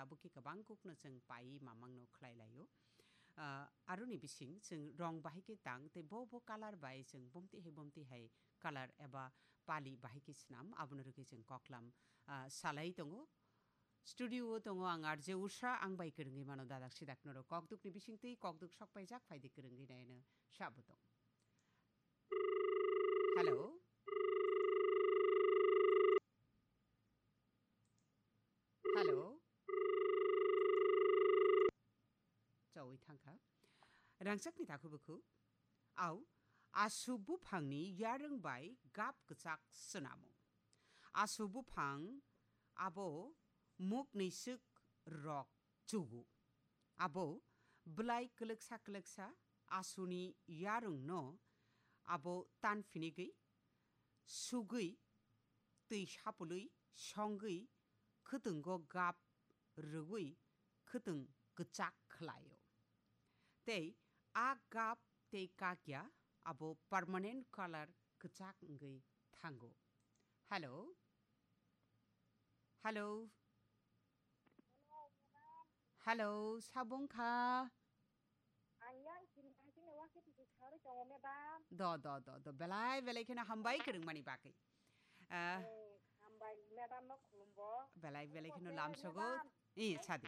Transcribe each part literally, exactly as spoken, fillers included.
abo khe kwbang kukno chwng paiwi mamangno khlai laio. Ah, aroni bising chwng rong bahai khe tang tei bo bo colour bai chwng bomti hai bomti hai colour eba pali bahai khe swnam, abono rwgwi chwng koklam, ah, salai tongo. Studio o tongo ang R J Usha, ang bai kwrwngwi mano dadak sidak norok kokdukni bisingtwi kokduk sok paijak, phaidi kwrwngwi naino sabo tong. Hello? Hello? Chawi thangkha. Rangchakni takhu bukhu. Au, asu buphangni yarwng bai gap kwchak swnamo. Asu buphang abo mukni swk rok chugo. Abo bwlai kwlwksa kwlwksa asuni yarwngno abo tan phinigwi, sugwi, twi sapulwi, songwi, khwtwngo gap rwgwi khwtwng kwchak khlaio. Tei a gap tei kakya abo permanent colour kwchak wngwi thango. Hello? Hello? Hello, sabung kha? Ang yang sini, ang sini wakit di saru tongo, madam. Do, do, do, do. Belai, belai kheno hambai kwrwngmani bagwi. Ah. Eh, hambai, madam no khulumbo. Belai, belai kheno lamsogo. Eh, sadi.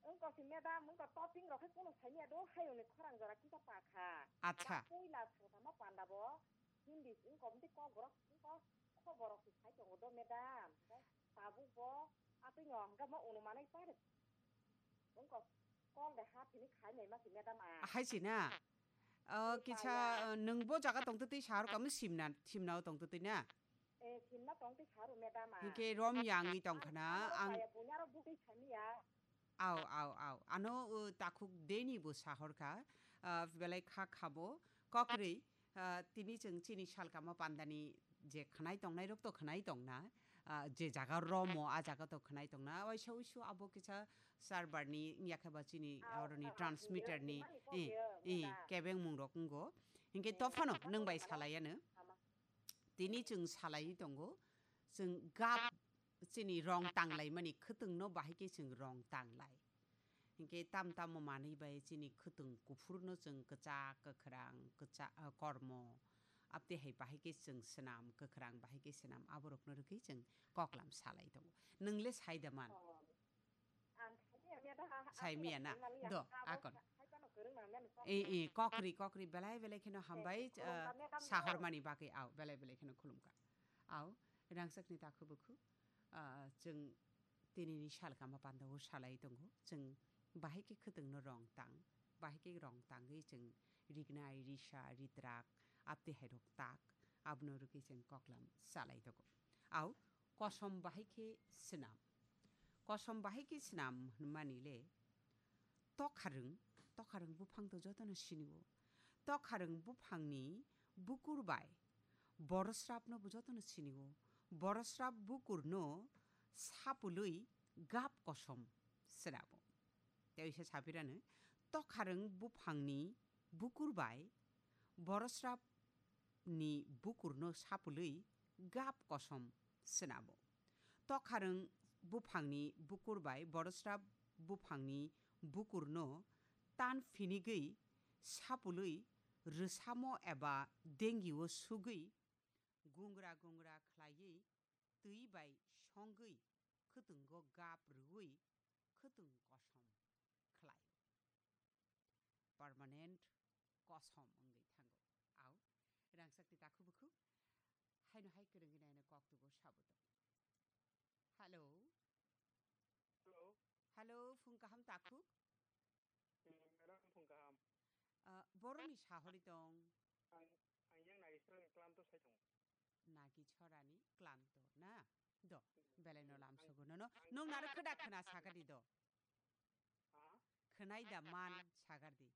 Wngkha si madam, wngkha topping rok khe kunu saimanya do, hayungni khorang jora kisa pakha. Acha. Puila sangtama panda bo, Hindi wngkha omtwi kokborok, wngkha khoborok si sai tongo do madam. Tabuk bo atwi no hwnkha ma unu manai pare. Wngkha kol de ha phini khai nai ma si madam a. Hai si na. Oh, kisa, uh, nwng bo jaga tongtwtwi sahar kamo simna, simna o tongtwtwi na? Eh, simna tongtwi saru madam a. Hingke rom yangwi tongkhana, ang, ang, ang bunyaro bugwi samiya. Au, au, au. Ano, uh, takhuk deni bo sahorkha, uh, belai kha khabo, kokri, uh, tini chwng chini salkama pandani je khnai tongnai rok to khnai tongna, uh, je jaga romo, a jaga to khnai tongna, waisa wisu abo kisa server ni, yakhe ba chini, au, oroni au, transmitter ni, mani eh, kokri, eh, madam. Kebeng mung rok wngo. Hingke eh, tophano nwng bai madam. Salayano. Tini chwng salaiwi tongo, chwng gap chini rong tanglaimani khwtwngno bahai khe chwng rong tanglai. Hinkhe tam tamo manwi bai chini khwtwng kuphurno chwng kwchak, kwkhwrang, kwcha-, ah, kormo, abtwi hai bahai khe chwng swnam, kwkhwrang bahai khe swnam, aborokno rwgwi chwng koklam salai tongo. Nwng le sai da man? Oh. Ang saimanya da, ha, ha, Saimanya na? Saimanya. Do, ha, akon. Hai phano kwrwng nang nani kok. Eh, eh, kokri, kokri, belai, belai kheno hambai, eh, khulumkha, ah, madam, sahormani bagwi, au, belai, belai kheno khulumkha. Au, rangchakni takhu bukhu, ah, chwng tinini salkama pandao salai tongo, chwng bahai khe khwtwngno rong tang, bahai khe rong tangwi chwng rignai, risa, ritrak, abtwi hai rok tak, abono rwgwi chwng koklam salai tongo. Au, kosom bahai khe swnam. Kosom bahai khe swnam hwnmani le tokharwng, tokharwng buphang to jotono sinio. Tokharwng buphangni bukur bai borosrapno bo jotono sinio. Borosrap bukurno sapulwi gap kosom swnamo. Tei se sapirano tokharwng buphangni bukur bai borosrap ni bukurno sapulwi gap kosom swnamo. Tokharwng buphangni bukur bai borosrap buphangni bukurno tan phinigwi sapulwi rwsamo eba dengio sugwi gungra gungra khlaiwi twi bai songwi khwtwngo gap rwui khwtwng kosom khlaio. Permanent kosom wngwi thango. Au, rangchakni takhu bukhu, haino hai kwrwngwi naino kok tugo sabo tong. Hello. Hello. Hello, phung kaham takhuk? Hmm, madam, phung kaham. Ah, boroni sahori tong? Ang, ang yang Nagi Chorani Klanto sai tongo. Nagi Chorani Klanto na? Do, hmm, belai no hmm, lam ang, sogo nono. Ang, nung naro ang, khwda khwna ang, sakadi do. Ha? Khwnai da man sagar di.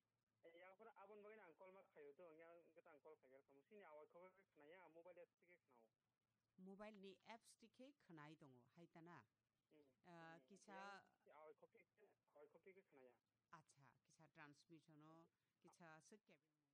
Eh, yang phano aboni bagwi ang call ma khaio do, yang gata ang call khaiya kamo. Sini awai khok khe khwnaya, mobile apps thike khwnao. Mobile ni apps thike khwnai tongo, hai ta na? Hmm. Ah, hmm, kisa yang si awai khok khe, awai khok khe khwnaya. Acha, kisa transmission o, kisa swk kebeng.